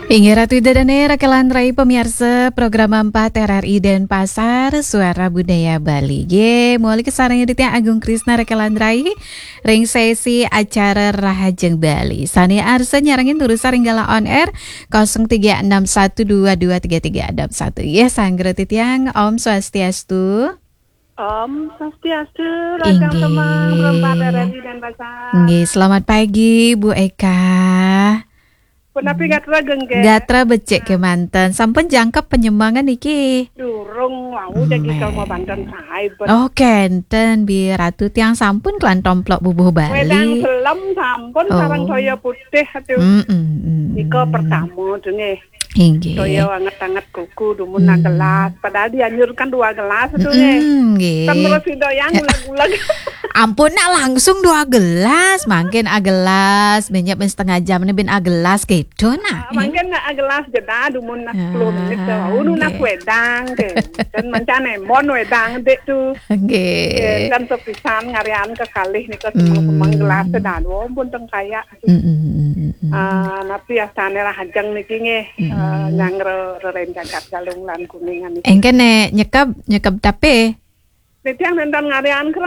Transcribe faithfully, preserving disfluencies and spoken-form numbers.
Inggih Ratu Ida Dane, Raka lan Rai, pamiarsa program empat R R I Denpasar, Suara Budaya Bali. Nggih, mawali kasarengin titiang Agung Krisna, Raka lan Rai, ring sesi acara Rahajeng Bali. Sane arsa nyarengin durusang ring galah on air, kosong tiga enam satu dua dua tiga tiga enam satu. Nggih, sanggra titiang, Om Swastiastu. Om Swastiastu, Raja Inggih. Semang, Perempat R R I Denpasar. Nggih, selamat pagi, Bu Eka. Punapi gatra, Geng, Geng? Gatra becik kemanten. Sampun jangkep penyembangan niki? Durung, wau jagi Meh. Kalau mau banten sae, bet. Oh, kenten, Bi Ratu, tiang sampun kelantomplok bubuh Bali. Wedang selem sampun, oh, sareng toya putih, aduh. Mm, mm, mm, nika mm. Pertama tuh, nggih. Inggih. Toya anget-anget kuku, dumun, hmm, gelas. Padahal dianjurkan dua gelas tuh, nggih. Mm, nggih. Kan terus si doyang uleg-uleg. Ampun, nak langsung dua gelas, mangkin agelas, minyak ben setengah jam ini ben agelas gitu, nak. Ah, mangkin nak agelas jeda, dumun nak sepuluh menit tuh. Ah, unu nak nggih. Wedang, nggih. Dan mancan embon wedang, dek tuh. Nggih. Nggih, kan sepisan ngarian kekalih nika semeng-semeng, hmm, gelas tuh, dah, dua pun tengkaya. Mm, mm, mm, mm, mm. Ah, napi astane Rahajeng niki nggih, mm, eh, nyang re-, reren jagat Galungan Kuningan niki. Engke nek nyekep, nyekep tape? Titiang nenten ngarian kereng.